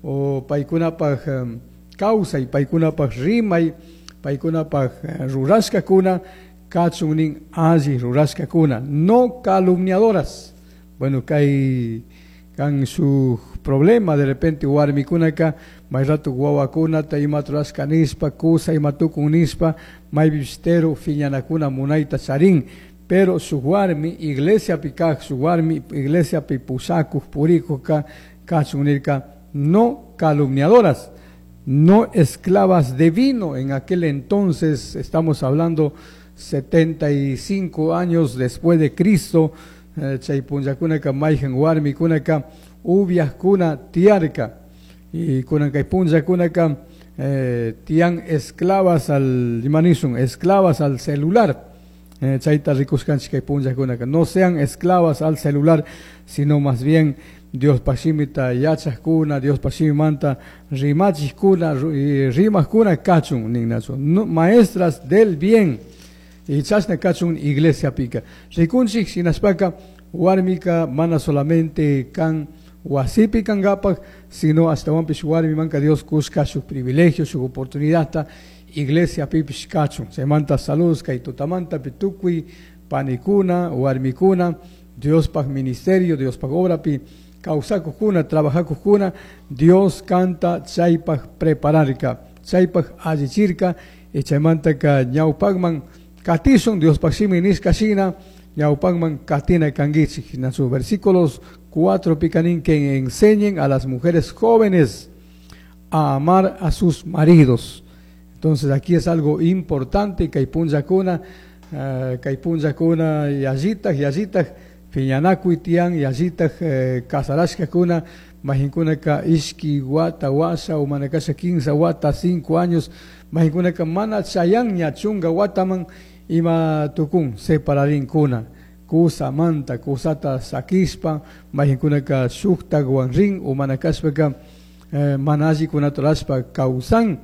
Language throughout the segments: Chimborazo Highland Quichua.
O paykunapaj kawsay, paykunapaj rimay, paykunapaj rurashkakuna kachun nin alli rurashkakuna, no calumniadoras. Bueno, kay kan shuk problema de repente warmikunaka may rato wawakunata imata rurashka nishpa, kusa ima tukun nishpa, maypipish tero phiñanakuna munayta charin. Pero shuk warmi iglesiapi kaj, shuk warmi iglesiapi pushakuj, purikujka kachun nirka, no calumniadoras, no esclavas de vino. En aquel entonces, estamos hablando 75 años después de Cristo, chay punllakunaka mayjan warmikunaka upiajkuna tiyarka. Y kunan kay punllakunaka tiyan esclavas al, ima nishun, esclavas al celular. Chayta rikushkanchik kay punllakunaka. No sean esclavas al celular, sino más bien Diospaj shimita yachajkuna, Diospaj shimimanta rimachijkuna, rimajkuna kachun ninnachu. No, maestras del bien. Y chashna kachun iglesiapika. Rikunchik shinashpaka warmika mana solamente kan wasipi kangapak, sino ashtawanpish warmimanka Dios kushka shuk privilegio, shuk oportunidadta iglesiapipish kachun. Chaymanta saludos kay tutamantapi tukuy panikuna, warmikuna, Diospaj ministerio, Diospaj obrapi kawsakujkuna, trabajacujkuna, Dios kanta chaypaj prepararka, chaypaj allichirka, y chaymantaka ñawpakman katishun, Diospaj shimi nishka shina, ñawpakman katina kankichik. En sus versículos 4 picanín que enseñen a las mujeres jóvenes a amar a sus maridos. Entonces aquí es algo importante, kay punllakuna, kay punllakuna yallitaj, yallitaj, phiñanakuy tiyan, yallitaj, casarashkakuna, mayqinkunaka ishki wata washa o mana kasha 15 wata, 5 años, mayqinkunaka mana chayanña chunka wataman ima tukun separarinkuna, kusamanta, kusata sakishpa, mayqinkunaka shuktakwan rin o mana kashpaka mana allikunata rurashpa kawsan.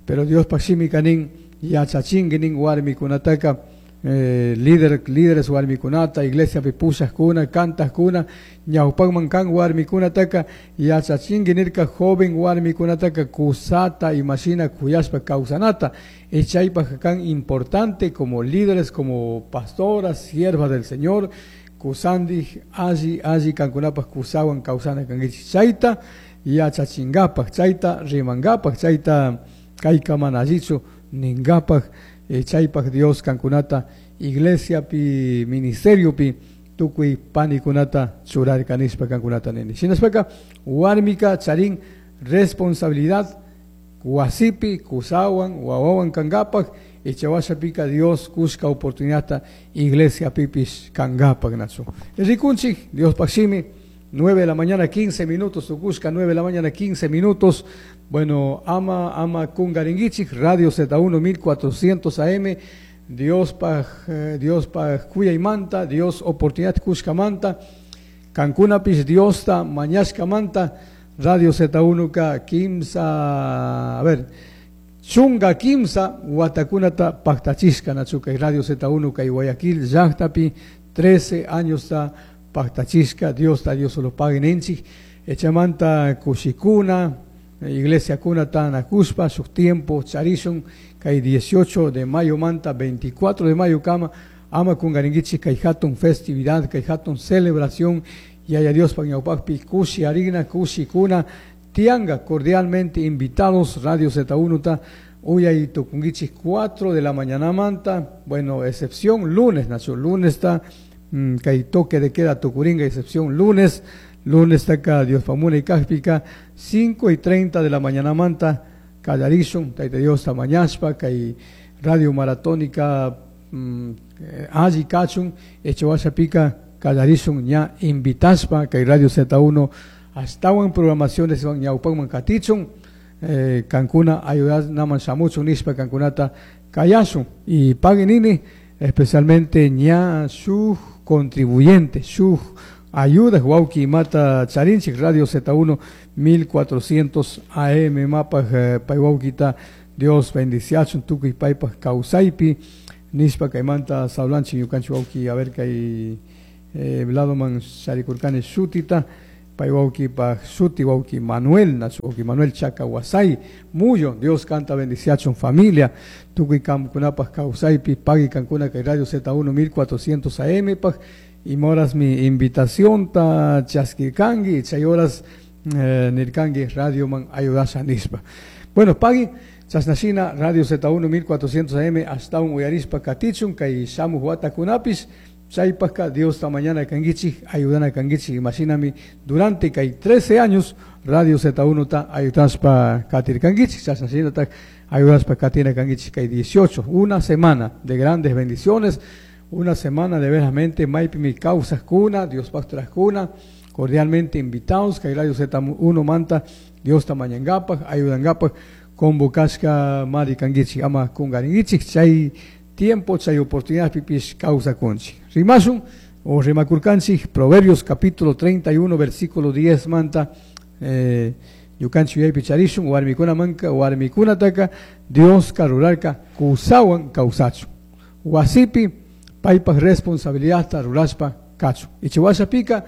Pero Diospaj shimika nin yachachinki nin warmikunataka líderes warmikunata, iglesiapi pushajkuna, kantajkuna, ñawpakman kan warmikunataka yachachinki nirka joven warmikunataka kusata imashina kuyashpa kawsanata. Y chaypaj kan importante como líderes, como pastoras, siervas del Señor, kusandij alli, alli kankunapaj kusawan kawsana kankichik. Chayta yachachinkapak, chayta rimankapak, chayta kayka mana allichu ninkapak. Chaypaj Dios kankunata iglesiapi, ministeriopi tukuy panikunata churarka nishpa kankunata nini. Shinashpaka warmika charin responsabilidad wasipi, kusawan, wawawan kankapak, y chawashapika Dios kushka oportunidadta iglesiapipish kankapak nachu. Rikunchik, Diospaj shimi, 9 de la mañana 15 minutos, tukushka 9 de la mañana 15 minutos. Bueno, ama kungaringuichik, Radio Z1 1400 AM, Diospaj kuyaymanta, Dios oportunidad kushkamanta, kankunapis Diosta mañashkamanta, Radio Z1 ka kimsa, a ver, chunga kimsa watakunata paktachishka nachuka, Radio Z1 ka Guayaquil llaqtapi 13 años ta paktachishka, Dios ta Dios lo pague ninchik, echamanta kushikuna, iglesia kuna ta nakuspa, shuk tiempo charishun, kay 18 de mayo manta, 24 de mayo kama, ama kungaringuichik kay hatun festividad, kay hatun celebración, yaya Dios pa ñawpakpi kushi harina, kushi kuna, tianga cordialmente invitados, Radio Z1 ta, uyay tukunguichik 4 de la mañana manta, bueno, excepción lunes, nacho, lunes ta, kay toque de queda tukuringa, excepción lunes, lunes acá, Dios pamuna y kajpika, 5:30 de la mañana manta, kallarishun, taita Dios ta mañashpa, kay radio maratónica, alli kachun, echowashapika, kallarishun, ña invitaspa, kay Radio Z1, ashtawan programaciones van ñawpakman katichun, kankuna ayudas naman shamuchun nishpa kankunata kayashun, y paguen nini, especialmente ña shuk contribuyente, shuk ayuda, wauki mata charinchik, Radio Z1 1400 AM, mapa paywaukita, Dios bendiciachun, tukuy paypaj kawsaypi, nishpa kaymanta sablanchik ñukanchik wauki, a ver kay ladoman sharikurkani shutita, Pay wawkipaj shuti wawki Manuel, nachu wawki Manuel Chacahuasay Muyo, Dios kanta bendiciachun familia, tukuy kamkunapaj kawsaypi pagui kankuna kay Radio Z1 1400 AM paj, ima horasmi invitacionta chaskirkanki, chay horas nirkanki radioman ayudasha nishpa. Bueno, pagui, chashnashina Radio Z1 1400 AM ashtawan uyarishpa katichun kay shamuj watakunapis, chaypajka Diosta mañana kankichik, ayudana kankichik, imashinami durante kay 13 años Radio Z1 ta ayudashpa katirkankichik, chashnashinataj ayudashpa katina kankichik kay 18, una semana de grandes bendiciones, una semana de veramente maypimi kawsajkuna, Diospaj trajkuna, cordialmente invitados kay Radio Z1 manta Diosta mañangapaj, ayudangapaj, convocashka mari kankichik, ama kungarinkichik, chay tiempo, chay oportunidad pipish kawsakunchik. Rimashun o rimakurkanchik, Proverbios capítulo 31, versículo 10 manta, ñukanchik yuyaypi charishun, warmikuna manka, warmikunataka, Dioska rurarka kusawan kawsachun. Wasipi paypaj responsabilidadta rurashpa kachun. Ichiwashapika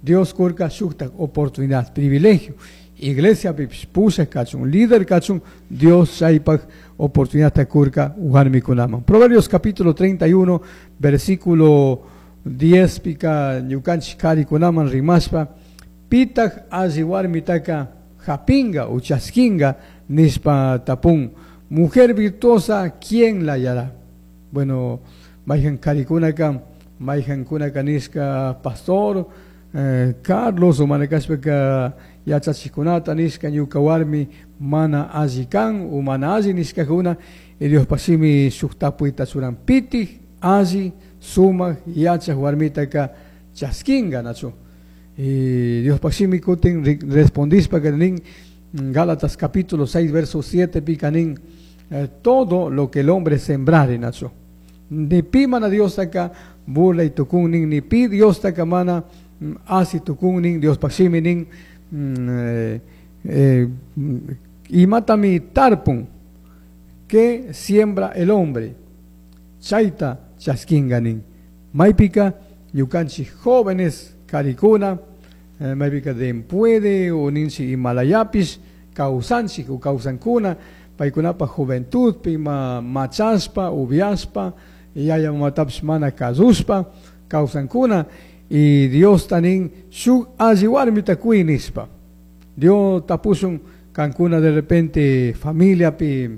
Dios kurka shuktak oportunidad, privilegio. Iglesia pipish pushak kachun, líder kachun, Dios chaypaj oportunidad kurka warmikunaman. Proverbios capítulo 31, versículo 10 pika ñukanchik karikunaman rimashpa, pitaj alli warmitaka japinga o chaskinga nishpa tapun. Mujer virtuosa, ¿quién la hallará? Bueno, mayhan karikunaka, mayhan kunaka nishka pastor, Carlos o manakashpaka yachachikunata nishka ñuka warmi mana alli kan o mana alli nishkakuna, y Dios pasimi shuk tapuyta churan pitij alli sumak yachaj warmitaka chaskinga nachu. Y Dios pasimi kutin respondispa que nin Gálatas capítulo 6 verso 7 pica nin, todo lo que el hombre sembrare nachu. Ni pi mana Dios taka burla y tukun nin, ni pi Dios taka mana asi tukun nin, Dios pasimi nin, imatami tarpun que siembra el hombre, chayta chaskinga nin. Maypika ñukanchik jóvenes karikuna, maypika dempuede o ninchi Himalayapis kawsanchik o kawsankuna, paykunapa juventud pima machaspa, ubiaspa, yaya mamatapis mana kasuspa kawsankuna, y Dios tanin shuk alli warmita kuy nishpa. Dios tapusun kankuna de repente familia pi,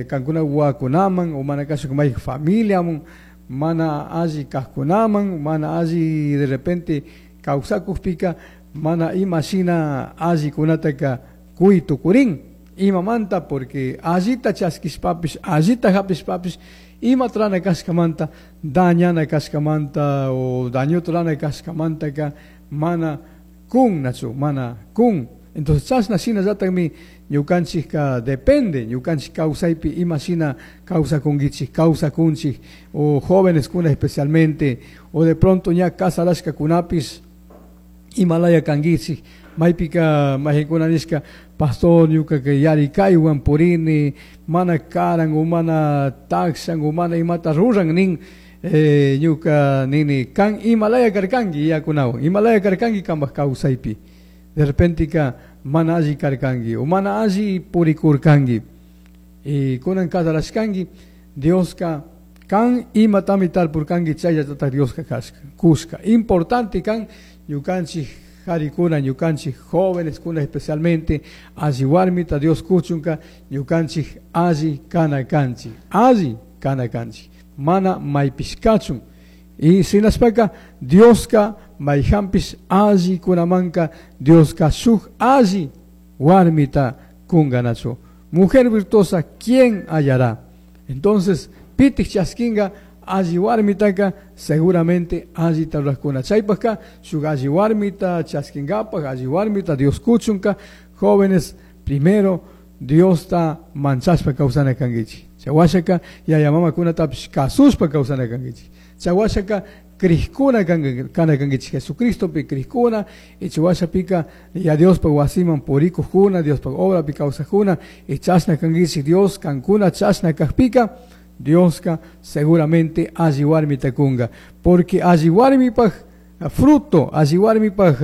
kankuna wakunaman o mana kasuk may familia mun, mana alli kajkunaman, mana alli de repente kawsakujpika, mana imashina alli kunataka kuy tukurin. Imamanta porque allita chaskishpapis, allita hapishpapis, ima trana kashkamanta, dañana kashkamanta o daño trana kashkamantaka mana kun nachu, mana kun. Entonces chashna shina llatakmi ñukanchikka depende, ñukanchik kawsaypi ima shina kawsakunkichik, kawsakunchik, o jóvenes kuna especialmente, o de pronto ña kasarashkakunapis imalaya kankichik, maypika mayqikuna nishka pastor ñukaka yarikaywan purini, mana karan o mana takshan o mana imata ruran nin, ñuka nini kan imalaya karkanki yakunawan, imalaya karkanki kanpaj kawsaypi. De repente ka mana alli karkanki o mana alli purikurkanki. Y kunan kasarashkanki, Dioska kan imatami tarpurkanki chayllatataj Dioska kashka, kushka. Importante kan ñukanchik jarikuna, ñukanchik jóvenes kuna especialmente, alli warmita Dios kuchunka, ñukanchik alli kana kanchik, alli kana kanchik, mana maypishkachun. Y shinashpaka Dioska mayjanpish alli kunamanka, Dioska shuk alli warmita kunganachu. Mujer virtuosa, ¿quién hallará? Entonces, pitik chaskinga alli warmitaka seguramente alli tarrajkuna. Chaypajka shuk alli warmita chaskingapaj, alli warmita Dios kuchunka, jóvenes, primero Diosta manchashpa kawsana kankichik. Chawashaka yaya mamakunatapish kasushpa kawsana kankichik. Chawashaka crijkuna kana kankichik, Jesucristopi crijkuna, y chawashapika ya Diospa wasiman purikujkuna, Diospa obrapi kawsajkuna, y chashna kankichik Dios kankuna chashna kajpika, Dioska seguramente alli warmita kunga, porque alli warmipaj Fruto, alli warmipaj,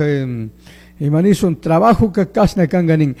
ima nishun, trabajoka kashna kanka nin.